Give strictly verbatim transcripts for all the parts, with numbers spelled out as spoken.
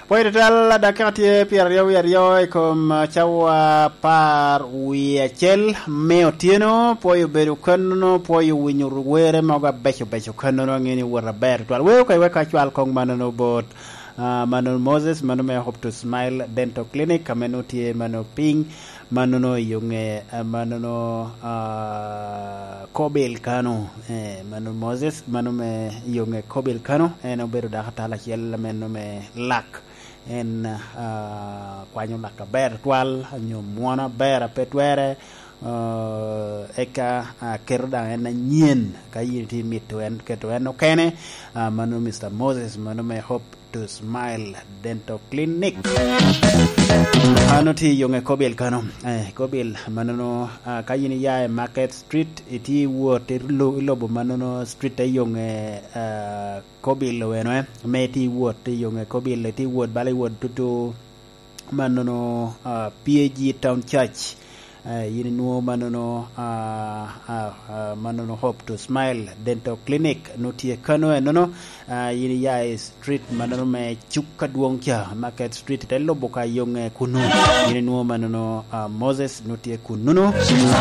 Pwoyo tutwal, dakika tye pyeraryo wie aryo i kom, ah, cawa apar wie acel me otyeno. Pwoyo bedo kanono, pwoyo winyo were mogo abeco beco kanono, angeni wot aber tutwal. Weo ka iweka acwal kong manono bot, ah, mano Moses, mano me Hope to Smile Dental Clinic, ame nongo tye mano piny, manono i yo nge, ah, manono, ah, Kobil Kano, eh, mano Moses, mano me i yo nge Kobil Kano, en obedo dakatala acel meno me lak. En, ah, kwanyo lak aber twal, nyo mwono aber a pe twere, ah, eka, ah, keto daŋ en anyen. Ka yin itye mito en, keto en okene, ah, mano Mister Moses, mano me Hope to Smile Dental Clinic. Mano tye i yo nge Kobil Kano. Eh, Kobil, manono, ah, ka yin iya i Market Street, itye i wot, i lo-, i lobo manono street i yo nge, ah, Kobil oweno, eh, me itye i wot i yo nge Kobil, itye i wot bala i wot tutu manono, ah, P A G Town Church. Eh, yin inwoŋo manono, ah, ah, ah, manono Hope to Smile Dental Clinic, nongo tye kano enono, ah, yin iya i street manono me cuk adwoŋ ca, Market Street, ite lubo ka yo nge kunu. Yin inwoŋo manono, ah, Moses, nongo tye kununu.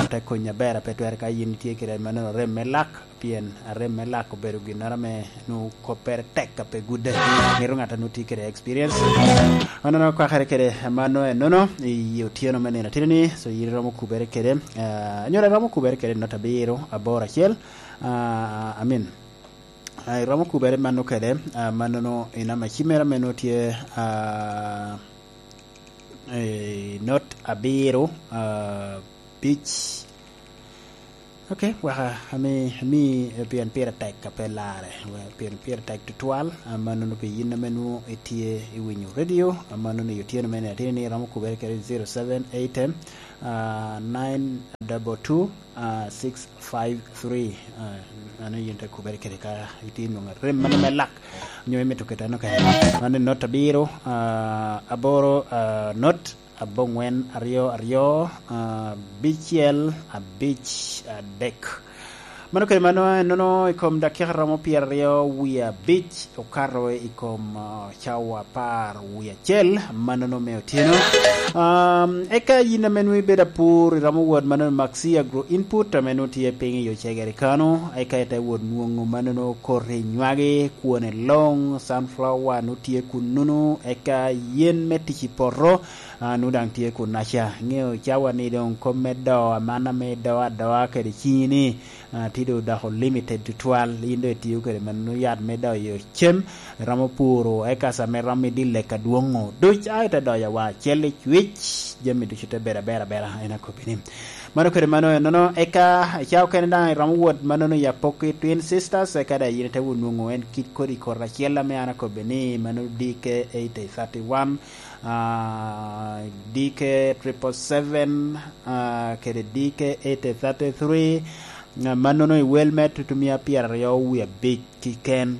Te konyi aber a pe twere ka yin itye kede manono rem me lak, pien arem me lak obedo ginnoro ame nwoŋo koppere tek a pe gudde. Mito ŋat a nwoŋo tye kede experience. Mano nwoŋo kwakere kede mano enono i otyeno me nino atino ni, so yin iromo kubere kede, ah, anyira iromo kubere kede not abiro aboro acel, ah, amin. Ah, iromo kubere mano kede, ah, mano nwoŋo i namba cimere ame nwoŋo tye, ah, eh, not abiro, ah, abic. Ok, waka, ami, ami, eh, pien pire tek a pe larre, we-, pien pire tek tutwal, ah, manono pi yin ame nwoŋo itye i winyo radio, ah, manono i otyeno me nino atino ni iromo kubere kede zero seven eight, ah, nine double two, ah, six five three, ah, mano yin te kubere kede ka itye nwoŋo rem mano me lak, nyo imito keteno kede. Mano not abiro, ah, aboro, ah, not, aboŋwen aryo aryo, ah, abicel abic adek. Mano kede mano, enono i kom dakika romo pyeraryo wie abic okato i kom, ah, cawa apar wie acel, manono me otyeno. Um, eka yin ame nwoŋo ibedo apur, iromo wot mano Maxi Agro Input, ame nwoŋo tye piny i Ocegere kano, eka ite wot nwoŋo manono koti nywagi, kwone loŋ, sunflower nwoŋo tye kununu, eka yen me tic i poto, ah, nwoŋo daŋ tye kunnaca. Iŋeo cawa ni doŋ kom me doo aman ame idoo adoa kede ciŋi ni, ah, tye doŋ odoko limited tutwal. Yin doŋ itio kede mano yat me doyo cem, iromo puro eka sa me romo idye lek adwoŋ-ŋu duc, a ite doyo awa acel i cwic, jami ducu te bedo aber abera, en akobbi ni. Mano kede mano enono, eka i cawa okene daŋ iromo wot manono i Apoki Twin Sisters, eka daŋ yin ite wot nwoŋo en kit kodi koti acel ame an akobbi ni mano D K eighty thirty-one, ah, D K triple seven, ah, kede D K eighty thirty-three, ah, manono i wel me tutumia pyeraryo wie abic keken.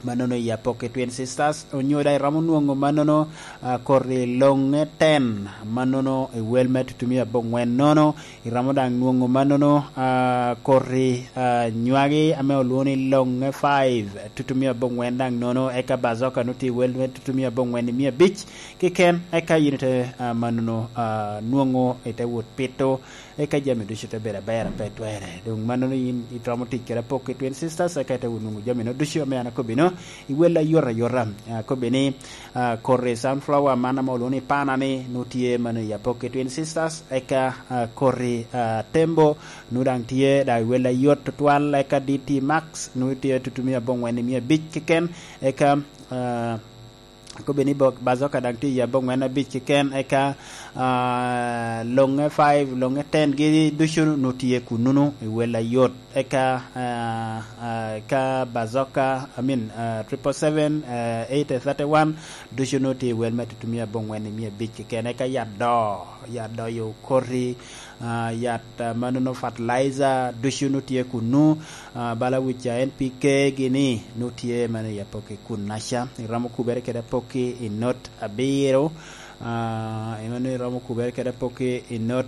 Manono i Apoki Twin Sisters, onyo daŋ iromo nwoŋo manono, ah, koti loŋe ten, manono i wel me tutumia aboŋwen nono, iromo daŋ nwoŋo manono, ah, koti, ah, nywagi ame olwoŋo ni loŋe five, tutumia aboŋwen daŋ nono, eka bazoka nwoŋo tye i wel me tutumia aboŋwen i mia abic keken, eka yin ite, ah, manono, ah, nwoŋo ite wot pito, eka jami ducu te bedo aber a pe twerre. Doŋ manono yin iromo tic kede Apoki Twin Sisters, eka ite wot nwoŋo jami-nu ducu ame an akobbi-nu, i wel ayot ayota. Ah, akobbi ni, ah, koti sunflower man ame olwoŋo ni pana ni, nwoŋo tye mano i Apoki Twin Sisters, eka, ah, koti, ah, tembo, nwoŋo daŋ tye daŋ i wel ayot tutwal, eka D T Max, nwoŋo tye tutumia aboŋwen i mia abic keken, eka, ah, akobbi ni bok, bazoka daŋ tye i aboŋwen abic keken, eka, ah, loŋe five, loŋe ten gi ducu nwoŋo tye kununu i wel ayot. Eka, ah, ah, eka bazoka, I mean, ah, triple seven, ah, eight thirty-one, ducu nwoŋo tye i wel me tutumia aboŋwen i mia abic keken. Eka yat doo, yat doyo koti, ah, yat, ah, manono fertilizer, ducu nwoŋo tye kunu, ah, bala wica N P K gini, nwoŋo tye mano i Apoki kunnaca. Iromo kubere kede Apoki i not abiro, ah, i mano iromo kubere kede Apoki i not